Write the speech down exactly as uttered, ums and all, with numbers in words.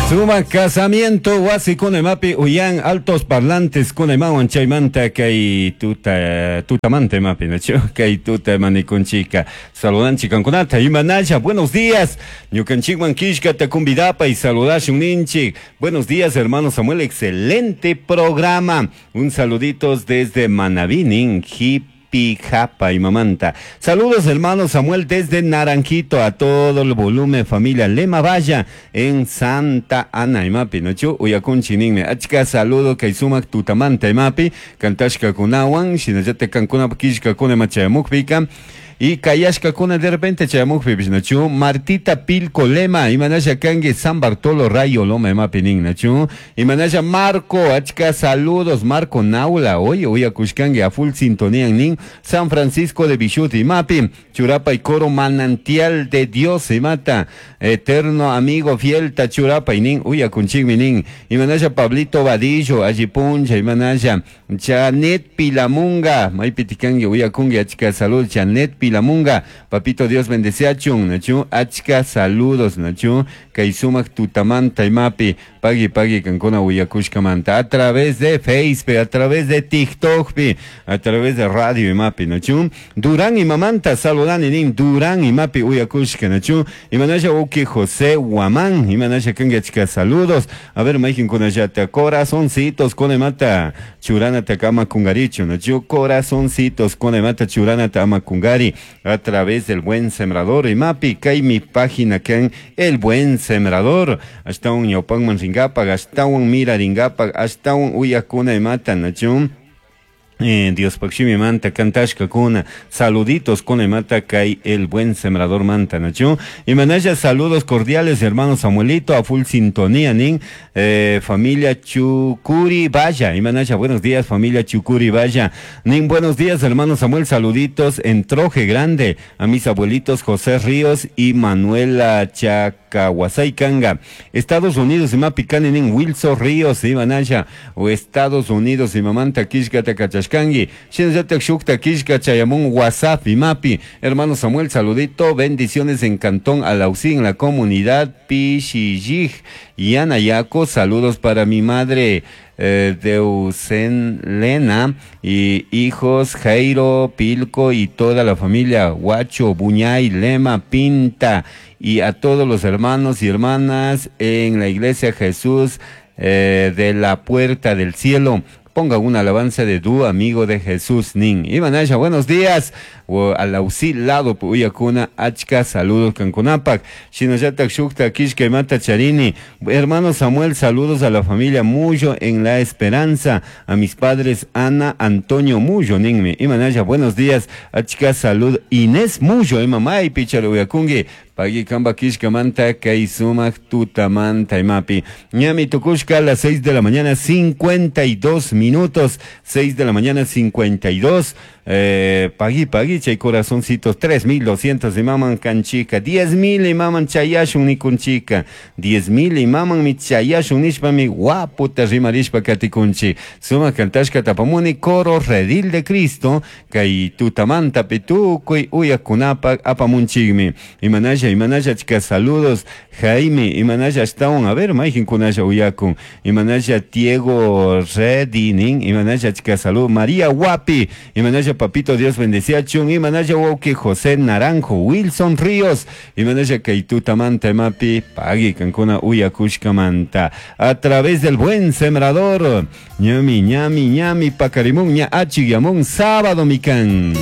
Suma casamiento wasi imapi uyan altos parlantes kunaymawan chaymanta kay tuta tutamanta imapi nachu kay tuta manikunchika saludanchik kankunata imanalla. Buenos días, ñukanchikman killkata kumbidapa y saludashun ninchik. Buenos días, hermano Samuel, excelente programa, un saluditos desde Manabí nin hip Pijapa y Mamanta. Saludos, hermano Samuel, desde Naranjito a todo el volumen familia Lema Valla en Santa Ana imapi nachu uyakunchi ninmi. Achka saludo kay sumak tutamanta imapi kantashka kunawan shinallata kankuna killkakuna machayamukpika y kayashkakuna de repente chayamukpipish nachu. Martita Pilco Lema, imanalla kanki San Bartolo Rayo Loma imapi nin nachu. Imanalla Marco, achka saludos Marco Naula, oye uyakushkanki a full sintonía nin San Francisco de Bichut imapi churapa y coro manantial de Dios imata eterno amigo fiel tachurapa y nin uyakunchikmi nin. Imanalla Pablito Vadillo allipuncha imanalla Janet Pilamunga maypitikanki uyakunki achka salud Janet Pilamunga, papito Dios bendeciachun nachu achka saludos nachu kay sumak tutamanta imapi pagui pagui kankuna uyakushkamanta a través de Facebook, a través de TikTok pi, a través de radio imapi nachu. Durán imamanta saludani nin Durán imapi uyakushka nachu. Imanalla uki José Guamán imanalla kanki achka saludos. A ver maykin kunallata corazoncitos kunaymata churana takama kungarichu nachu corazoncitos kunaymata churana tama kungari a través del Buen Sembrador imapi kay mi página kan El Buen Sembrador ashtawan ñawpanman rinkapak ashtawan mirarinkapak ashtawan uyakuna imata nachu. Eh, Dios pakshimi manta kantashka kuna saluditos kuna imata kay El Buen Sembrador manta nachu. Imanalla saludos cordiales hermano Samuelito a full sintonía nin eh, familia Chucuri Vaya imanalla buenos días familia Chucuri Vaya nin buenos días hermano Samuel, saluditos en Troje Grande a mis abuelitos José Ríos y Manuela Chacahuasay Kanga Estados Unidos imapi kani nin Wilson Ríos imanalla o Estados Unidos imamanta killkata kachashkanki shinallatak shukta killka chayamun WhatsApp imapi hermano Samuel saludito bendiciones en Cantón Alausí en la comunidad Pichillij y Anayaco, saludos para mi madre eh, Deusen Lena y hijos Jairo, Pilco y toda la familia Huacho, Buñay, Lema, Pinta y a todos los hermanos y hermanas en la iglesia Jesús eh, de la Puerta del Cielo. Ponga una alabanza de du amigo de Jesús nin. Imanalla, buenos días. O alausi lado uyakuna achka saludos kankunapak. Shinallatak shukta kishka imata charini. Hermano Samuel, saludos a la familia Mullo en La Esperanza. A mis padres Ana, Antonio Mullo ninmi. Imanalla, buenos días. Achka salud Inés Mullo, imamay picharo uyakungi. Pagui kamba kishka manta kay sumak tutamanta imapi. Ñami tukushka a las seis de la mañana cincuenta y dos minutos. seis de la mañana cincuenta y dos. Eh, pagui pagui chay corazoncitos tres mil doscientos imaman kanchika diez mil imaman chayashun nikunchika diez mil imaman mi chayashun nishpa mi guaputa rimarishpa katikunchi suma kantashka tapamuni coro redil de Cristo kay tutamanta pitukuy uyakunapak apamunchikmi. Imanalla imanalla chika saludos Jaime imanalla ashtawan a ver mayjin kunalla uyakun imanalla Diego Redinin imanalla chika salud María Guapi imanalla papito Dios bendeciachun imanalla wauki José Naranjo Wilson Ríos imanalla kaytutamanta imapi pagui kankuna uyakushkamanta a través del Buen Sembrador ñami ñami ñami pakarimun ña achigyamun sábado mikan.